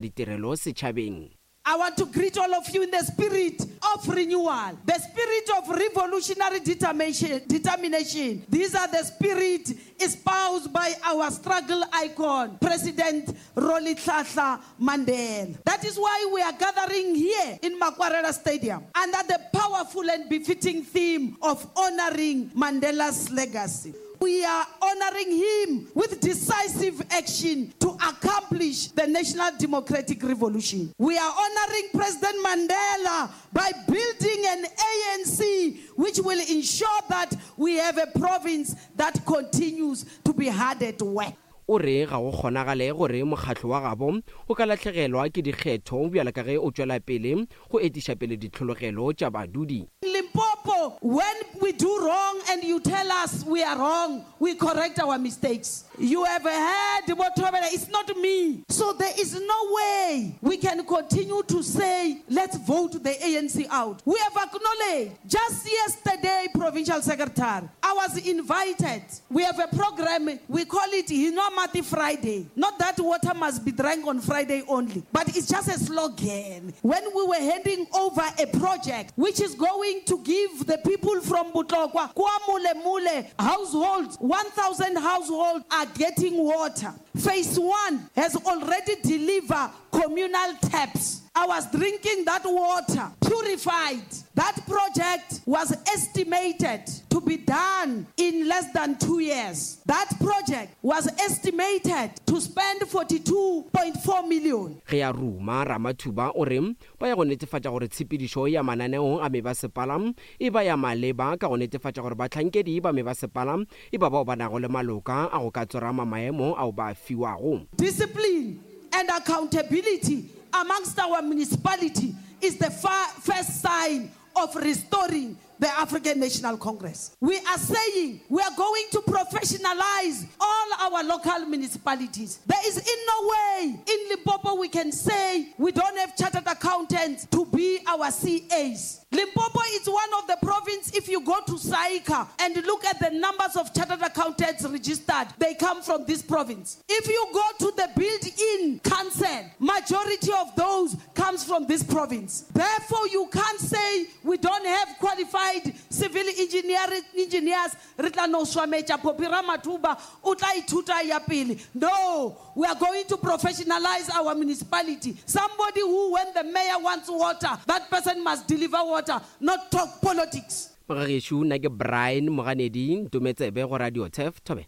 ditirelo setšhabeng. I want to greet all of you in the spirit of renewal, the spirit of revolutionary determination. These are the spirit espoused by our struggle icon, President Rolihlahla Mandela. That is why we are gathering here in Makwarela Stadium under the powerful and befitting theme of honoring Mandela's legacy. We are honoring him with decisive action to accomplish the national democratic revolution. We are honoring President Mandela by building an ANC which will ensure that we have a province that continues to be hard at work. O re ga go kgonagale gore mokgatlo wa gabo o ka lahlegelwa ke dikgetho bjalo ka ge o tšwela pele go etiša pele ditlhologelo tša badudi. Limpopo, when we do wrong and you tell us we are wrong, we correct our mistakes. You have heard Bothobela, it's not me. So there is no way we can continue to say let's vote the ANC out. We have acknowledged, just yesterday, Provincial Secretary, I was invited. We have a program, we call it Hinwa Friday. Not that water must be drank on Friday only, but it's just a slogan. When we were handing over a project which is going to give the people from Botlokwa, Kwa Mule households, 1,000 households are getting water. Phase 1 has already delivered communal taps. I was drinking that water, purified. That project was estimated to be done in less than 2 years. That project was estimated to spend 42.4 million. Ge a ruma, Ramathuba o re ba ya go netefatša gore tshepedišo ya mananeo a mebasepala e ba ya maleba ka go netefatša gore bahlankedi ba mebasepala e ba bao ba nago le maloka a go ka tsorama maemo ao ba a fiwago. Discipline and accountability amongst our municipality is the first sign of restoring the African National Congress. We are saying we are going to professionalize all our local municipalities. There is in no way in Limpopo we can say we don't have chartered accountants to be our CAs. Limpopo is one of the provinces, if you go to SAICA and look at the numbers of chartered accountants registered, they come from this province. If you go to the built-in council, majority of those comes from this province. Therefore, you can't say we don't have qualified civil engineers. Re tla no swametša Phophi Ramathuba, o tla ithuta ya pele. No, we are going to professionalize our municipality. Somebody who, when the mayor wants water, that person must deliver water, not talk politics. Mogagešo, nna ke Brian Moganedi, Ntometsebe go Radio Turf, Thobela.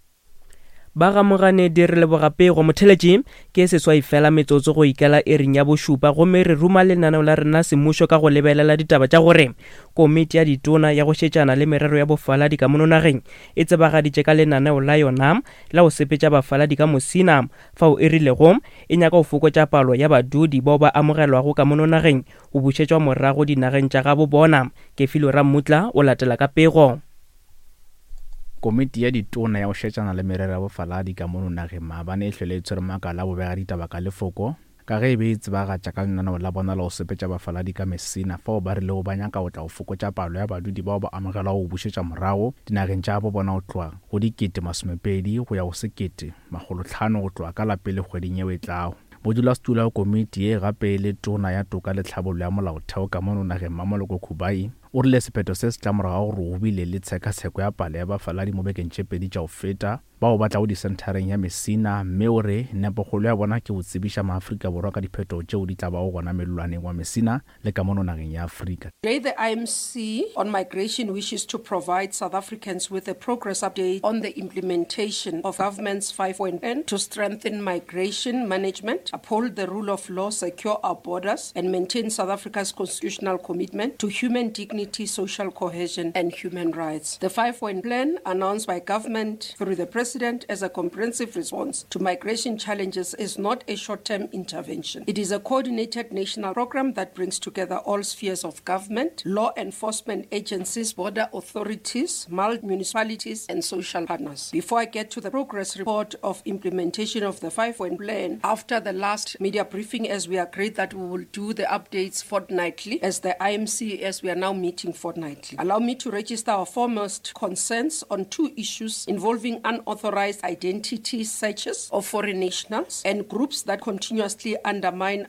Ba ga Moganedi re leboga pego. Motheletši, ke seswai fela metsotso go ikela iring ya bošupa gomme re ruma lenaneo la rena semmušo ka go lebelela ditaba tša gore Komiti ya Ditona ya go šetšana le merero ya bofaladi ka mono nageng e tsebagaditše ka lenaneo la yona la go sepetša bafaladi ka Musina fao e rilego e nyaka go fokotša palo ya badudi bao ba amogelwago ka mono nageng go bušetšwa morago dinageng tša gabo bona. Kefilwe Rammutla o latela ka pego. Komiti ya Ditona ya go šetšana le merero ya bofaladi ka mono nageng maabane e hlwele e tshwere makala a bobegaditaba ka lefoko ka ge e be e tsebagatša ka lenaneo la bona la go sepetša bafaladi ka Messina fao ba rilego ba nyaka go tla go fokotša palo ya badudi bao ba amogelwago go bušetša morago dinageng tša gabo bona go tloga go 20,000 go ya go 1,500 go tloga ka la pele kgweding yeo e tlago. Modulasetulo wa komiti ye gape e le Tona ya Toka le Tlhabollo ya Molaotheo ka mono nageng Mmamoloko Kubayi O rile sephetho se se tla morago ga gore go bile le tshekatsheko ya palo ya bafaladi mo bekeng tše pedi tša go feta bao ba tlago disenthareng ya Messina mme o re nepokgolo ya bona ke go tsebiša maAfrika Borwa ka diphetogo tšeo di tla bago gona mellwaneng wa Messina le ka mono nageng ya Afrika. Today the IMC on Migration wishes to provide South Africans with a progress update on the implementation of government's 5-point plan to strengthen migration management, uphold the rule of law, secure our borders and maintain South Africa's constitutional commitment to human dignity, social cohesion and human rights. The 5-point plan announced by government through the president as a comprehensive response to migration challenges is not a short-term intervention. It is a coordinated national program that brings together all spheres of government, law enforcement agencies, border authorities, municipalities and social partners. Before I get to the progress report of implementation of the 5-point plan, after the last media briefing, as we agreed that we will do the updates fortnightly, as the IMC, as we are now meeting meeting fortnightly. Allow me to register our foremost concerns on two issues involving unauthorized identity searches of foreign nationals and groups that continuously undermine